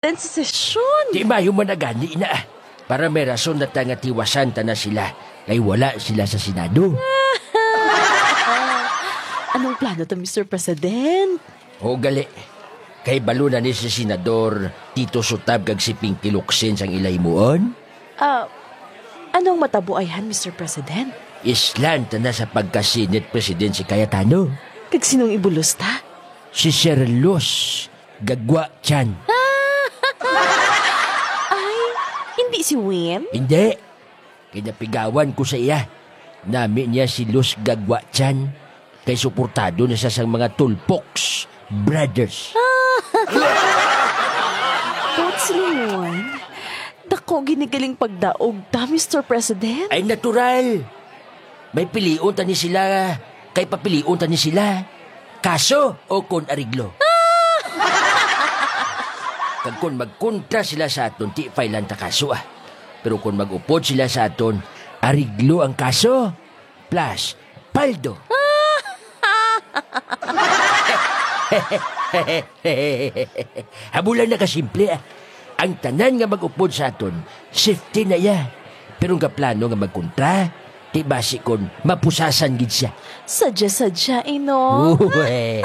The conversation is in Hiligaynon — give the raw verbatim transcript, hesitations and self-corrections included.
President sa sesyon. Di mayo man na gani na. Para may rason na ta nga tiwasan ta na sila. Kay wala sila sa Senado. Anong plano to, Mister President? O gali. Kay balo na ni si Senador Tito Sutab kag si Pinky Locsin sang ila himuon? Ah, anong matabo ayhan, Mister President? Islan ta na sa pagka-Senate President si Cayetano. Kag sinong ibulos ta? Si Sir Luz Gagwa Chan. Ay, hindi si Win? Hindi. Kay napigawan ko sa iya. Nami niya si Luz Gagwa Chan. Kay suportado na siya sang mga Tulpoks Brothers. Coach Limon, dako gini galing pagdaog ta, Mister President. Ay, natural. May pilion ta ni sila, kay papilion ta ni sila. Kaso o kon ariglo? Kag kon magkontra sila sa aton, ti file-an ta kaso, ah. Pero kon mag-upod sila sa aton, ariglo ang kaso. Plus, paldo. Amo lang na kasimple, ah. Ang tanan nga mag-upod sa aton, safety na iya. Pero ang kaplano nga magkontra, ti basi kon mapusasan gid siya. Sadya-sadya, eh, no? Uy.